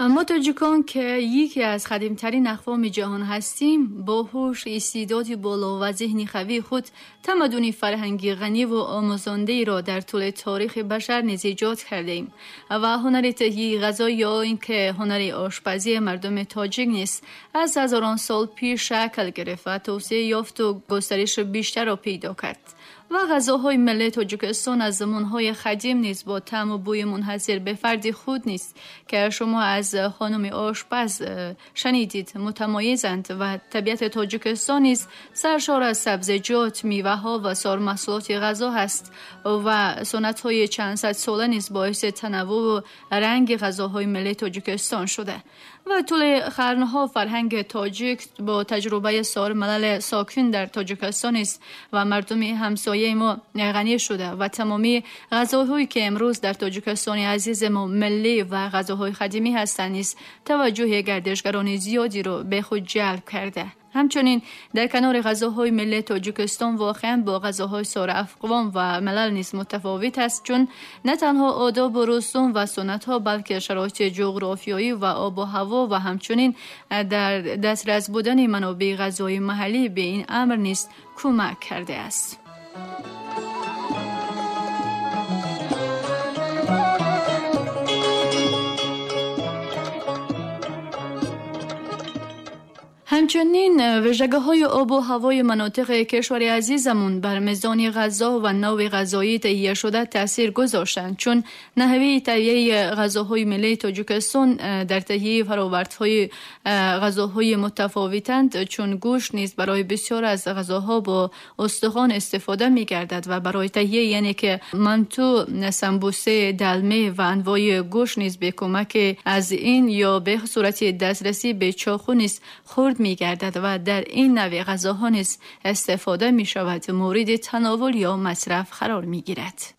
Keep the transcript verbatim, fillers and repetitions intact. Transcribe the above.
ما تاجیکان که یکی از قدیمترین اقوام جهان هستیم، با هوش، استعداد بالا و ذهن قوی خود تمدن فرهنگی غنی و آموزنده را در طول تاریخ بشر نیز ایجاد کرده ایم و هنر تهیه غذا یا اینکه هنر آشپزی مردم تاجیک نیز از هزاران سال پیش شکل گرفت و توسعه یافت و گسترش بیشتر را پیدا کرد. و غذاهای ملی تاجیکستان از زمانهای قدیم نیز با طعم و بوی منحصر به فرد خود نیست که شما از خانم آشپز شنیدید متمایزند و طبیعت تاجیکستان نیز سرشار از سبزیجات، میوه‌ها و سایر محصولات غذا هست و سنت‌های چند صد ساله نیز باعث تنوع و رنگ غذاهای ملی تاجیکستان شده و طول قرنها فرهنگ تاجیک با تجربه سایر ملل ساکن در تاجیکستان است و مردم همسایه ما غنی شده و تمامی غذاهایی که امروز در تاجیکستان عزیز ما ملی و غذاهای قدیمی هستند نیز توجه گردشگران زیادی را به خود جلب کرده. همچنین در کنار غذاهای ملی تاجیکستان واقعا با غذاهای سایر اقوام و ملل نیز متفاوت است، چون نه تنها آداب و رسوم و سنت ها بلکه شرایط جغرافیایی و آب و هوا و همچنین در دسترس بودن منابع غذایی محلی به این امر نیز کمک کرده است. همچنین ویژگی‌های آب و هوای مناطق کشور عزیزمون بر میزان غذا و نوع غذایی تهیه شده تاثیر گذاشتند، چون نحوه تهیه غذاهای ملی تاجیکستان در تهیه فرآوردهای غذاهای متفاوتند، چون گوشت نیز برای بسیار از غذاها با استخوان استفاده می‌گردد و برای تهیه یعنی که منتو، سمبوسه، دلمه و انواع گوشت نیز به کمک از این یا به صورت دسترسی به چاقو نیز خورد می‌گردد و در این نوع غذاها نیز استفاده می‌شود، مورد تناول یا مصرف قرار می‌گیرد.